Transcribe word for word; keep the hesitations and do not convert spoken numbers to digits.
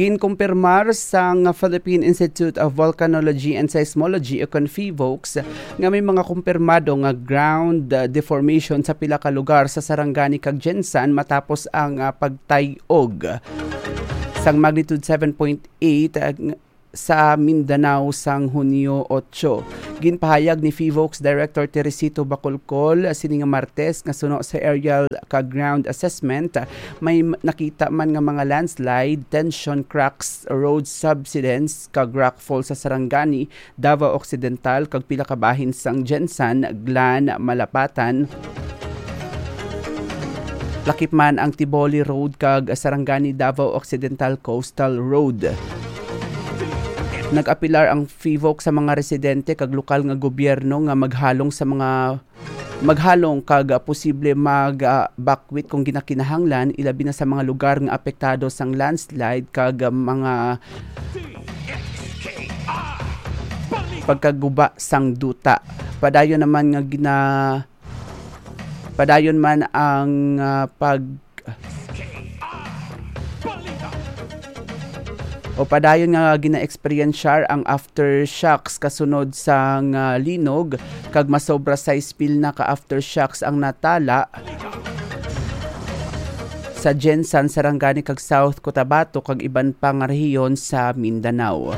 Ginkumpirmar sang Philippine Institute of Volcanology and Seismology o kon PHIVOLCS nga may mga kumpirmado nga ground, uh, deformation sa pila ka lugar sa Sarangani kag Gensan matapos ang, uh, pagtay-og sang magnitude seven point eight, uh, ng-, sa Mindanao sang Hunyo otso. Ginpahayag ni PHIVOLCS Director Teresito Bacolcol sini nga Martes nga suno sa aerial kag ground assessment, may m-, nakita man nga mga landslide, tension cracks, road subsidence, kag rockfall sa Sarangani, Davao Occidental, kag pila ka bahin sang Gensan, Glan, Malapatan, lakip man ang Tiboli Road kag Sarangani, Davao Occidental Coastal Road. Nag-apilar ang PHIVOLCS sa mga residente kag lokal nga gobyerno nga maghalong sa mga maghalong kag, ah, posible mag, ah, bakwit kung ginakinahanglan, ilabi na sa mga lugar nga apektado sang landslide kag, ah, mga pagkaguba sang duta. Padayon naman nga gina-, padayon man ang, ah, pag-, o padayon nga gina-experiensyar ang aftershocks kasunod sang, ah, linog, kag masobra sais pil na ka aftershocks ang natala sa Gensan, Sarangani, kag South Cotabato, kag iban pa nga rehiyon sa Mindanao.